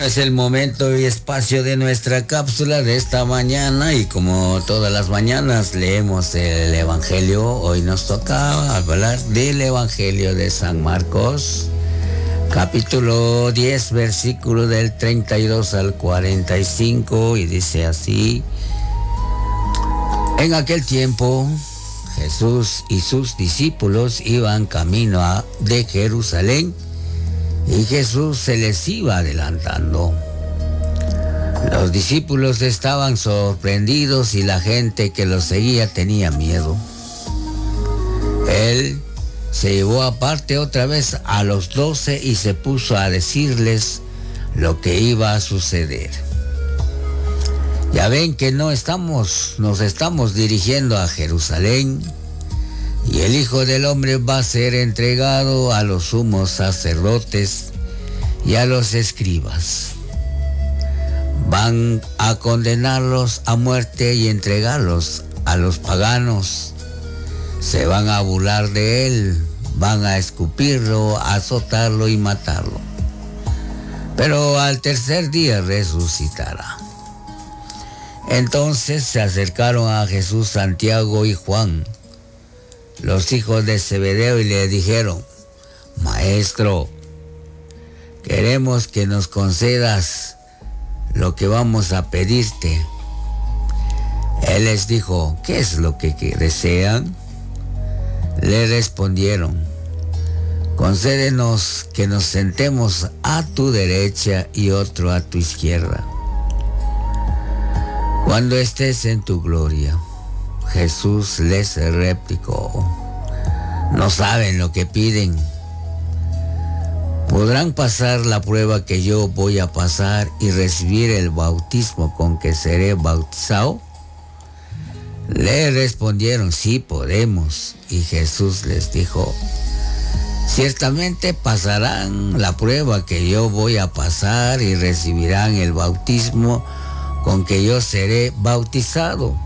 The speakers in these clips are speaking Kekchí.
Es el momento y espacio de nuestra cápsula de esta mañana y como todas las mañanas leemos el Evangelio, hoy nos toca hablar del Evangelio de San Marcos, capítulo 10, versículo del 32 al 45 y dice así, en aquel tiempo Jesús y sus discípulos iban camino de Jerusalén y Jesús se les iba adelantando. Los discípulos estaban sorprendidos y la gente que los seguía tenía miedo. Él se llevó aparte otra vez a los 12 y se puso a decirles lo que iba a suceder. Ya ven que no estamos, nos estamos dirigiendo a Jerusalén y el Hijo del Hombre va a ser entregado a los sumos sacerdotes y a los escribas. Van a condenarlos a muerte y entregarlos a los paganos. Se van a burlar de él, van a escupirlo, azotarlo y matarlo. Pero al tercer día resucitará. Entonces se acercaron a Jesús Santiago y Juan, los hijos de Zebedeo, y le dijeron: Maestro, queremos que nos concedas lo que vamos a pedirte. Él les dijo: ¿qué es lo que desean? Le respondieron: concédenos que nos sentemos a tu derecha y otro a tu izquierda, cuando estés en tu gloria. Jesús les replicó: no saben lo que piden. ¿Podrán pasar la prueba que yo voy a pasar y recibir el bautismo con que seré bautizado? Le respondieron: sí podemos. Y Jesús les dijo: ciertamente pasarán la prueba que yo voy a pasar y recibirán el bautismo con que yo seré bautizado.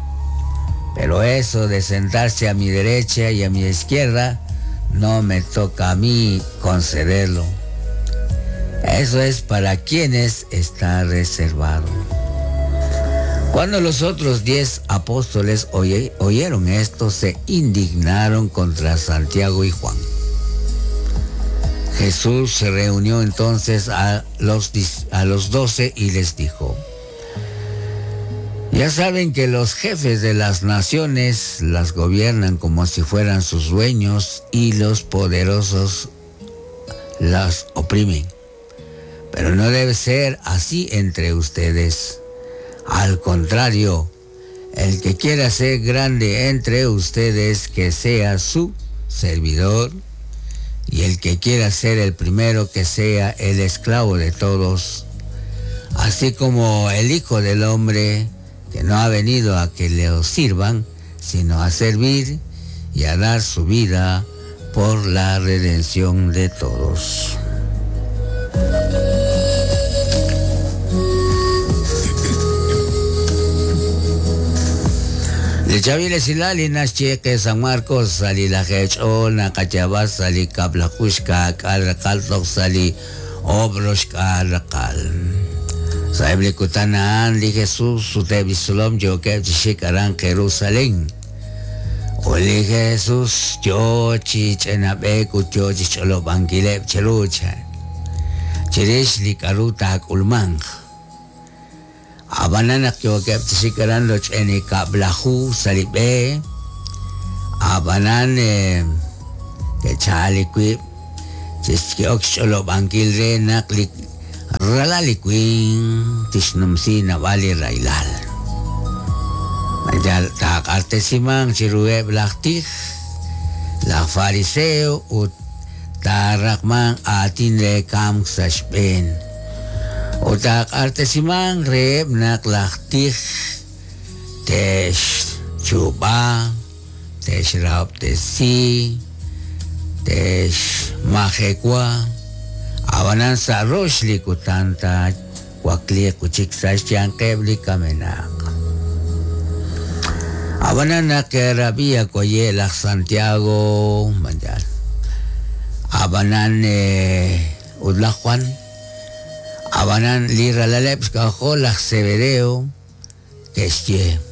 Pero eso de sentarse a mi derecha y a mi izquierda, no me toca a mí concederlo. Eso es para quienes está reservado. Cuando los otros 10 apóstoles oyeron esto, se indignaron contra Santiago y Juan. Jesús se reunió entonces a los 12 y les dijo: ya saben que los jefes de las naciones las gobiernan como si fueran sus dueños y los poderosos las oprimen. Pero no debe ser así entre ustedes. Al contrario, el que quiera ser grande entre ustedes, que sea su servidor, y el que quiera ser el primero, que sea el esclavo de todos. Así como el Hijo del Hombre, que no ha venido a que le sirvan, sino a servir y a dar su vida por la redención de todos. Lichaviles silali naschieque San Marcos sali la hechona cachabas sali kablakushka kalrakaltok sali obroshka rakal. Saibli kutanaan li Jesús utebisulom yo que shikaran Jerusalén. Oli Jesús yo chichenabe kucho chicholo banquileb chelucha. Chirish li karuta kulmang. Abanana yo que shikaran los enikablahu salibe. Abanan que chaliquip chiskiok cholo banquil re naklik. Ralalikwin tisnumsi na wali railal. Majal takartesimang chirueb laktih la fariseo ut tarakman atin rekam sashben. Utak artesimang reb nak laktih tesh chuba tesh raptesi tesh majekwa. Abanan sa roshli kutanta wakli kuchik sa siyang kebli kamenak. Abanan na kerabia koye lak Santiago manjal. Abanan udla Juan. Ab'anan li ralaleb' xk'ajol laj Zebedeo ke'xye,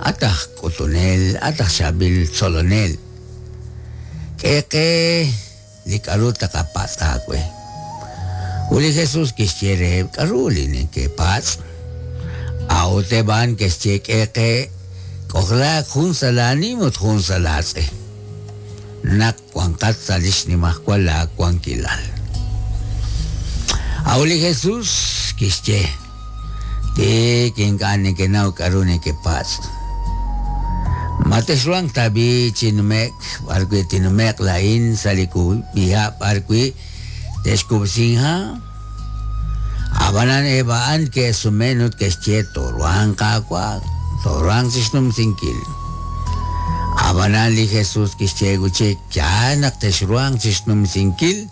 At aj k'utunel, at aj chaab'il tzolonel, k'e qe li k'aru taqapatz' aawe. Ut li Jesús kixye reheb' k'aru li nekepatz'. A'ut eb' a'an ke'xye k'e qe k'ojlaak jun sa' laanim ut jun sa' laatz'e. Naq wanqat sa' li xnimajwal laawankilal. A'ut li Jesús kixye, Tik ink'a' nekenaw k'aru nekepatz'. Ma texruhanq tab'i' chi nume'k b'arwi' tinnume'q laa'in sa' li kub'iha' b'arwi' te'xkub'si inha'? Ab'anan eb' a'an ke'sumen ut ke'xye, Tooruhanq, Qaawa', tooruhanq chi xnumsinkil. Ab'anan li Jesús kixye wi' chik, Yaal naq texruhanq chi xnumsinkil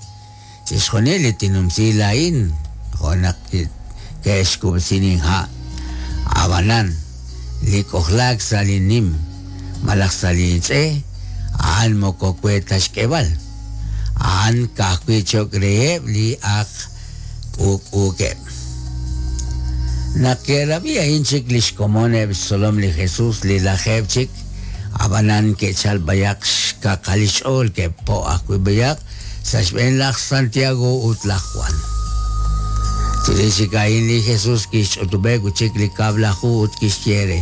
chixjunil li tinnumsi laa'in, jo' naq ke'xkub'si linha'. Ab'anan, li k'ojlaak sa' linnim malaj sa' lintz'e, a'an moko we ta xk'eb'al. A'an ka'ajwi' cho'q reheb' li ak k'uuk'uukeb'. Naq ke'rab'i a'in chik li xkomon eb' xtzolom li Jesús li lajeeb' chik, ab'anan ke'chalk b'ayaq xkaqal li xch'ool ke'po' ajwi' b'ayaq sa' xb'een laj Santiago ut laj Juan. Chirix chik a'in li Jesús kixch'utub'eb' wi' chik li kab'laju ut kixye re,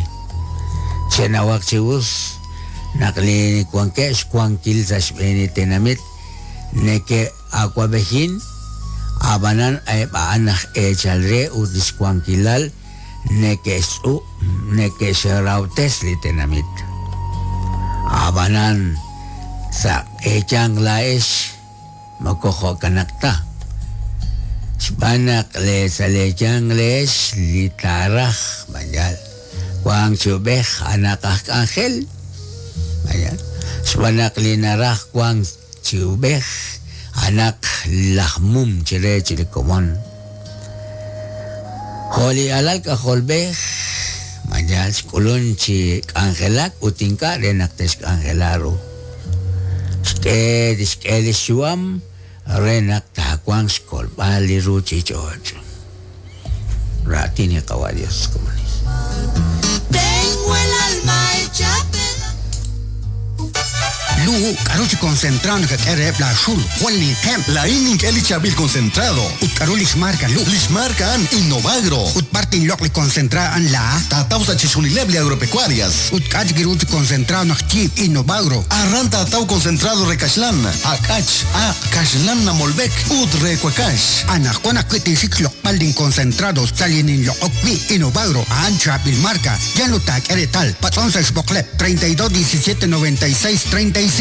Chenawaq chi us naq li wankeb' xwankil sa' xb'een li tenamit neke'awab'ejin, ab'anan eb' a'an aj eechal re ut li xwankilal neke'xtz'ub' neke'xrahob'tes li tenamit. Ab'anan sa' eeyanq laa'ex moko jo'kanaq ta. Xb'aan naq sa' leeyanq leex li taaraj mayal wank chi ub'ej a'anaq aj k'anjel mayal xb'aan naq li naraj wank chi ub'ej a'anaq laj mum chire chi li komon. Jo' li alal k'ajolb'ej mayal xk'ulun chi k'anjelak ut ink'a' re naq te'xk'anjela ru. Xk'e tixk'e li xyu'am re naq taawanq xkolb'al li ruuchich'och'. Raatin li Qawa' Dios, komonil. Tengo el alma hecha Lu, k'aru chi concentrado nakak'e reheb' laaxul? Jwal ninqeb'. Laa'in nink'e li chaab'il concentrado. Ut k'aru li xmarka, Lu? Li xmarka a'an Innovagro. Ut b'ar tinloq' li concentrado a'an laa? Taataw sa' chixjunileb' li agropecuarias. Ut k'a' chik ru chi concentrado naq yiib' Innovagro? Aran taataw concentrado re kaxlan, ak'ach, aaq, kaxlan namolb'ek ut re wakax. Anaqwan ajwi' tinxik xloq'b'al linconcentrado sa' li ninloq'ok wi' Innovagro a'an chaab'il marka. Yal ut taak'e reetal. Patz'on sa' xb'oqleb' 32 17 96 35.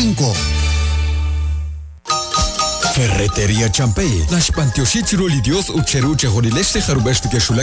Ferretería Champey, naxb'antioxi chiru li Dios ut cheru chejunilex li jarub'ex nekexwulak.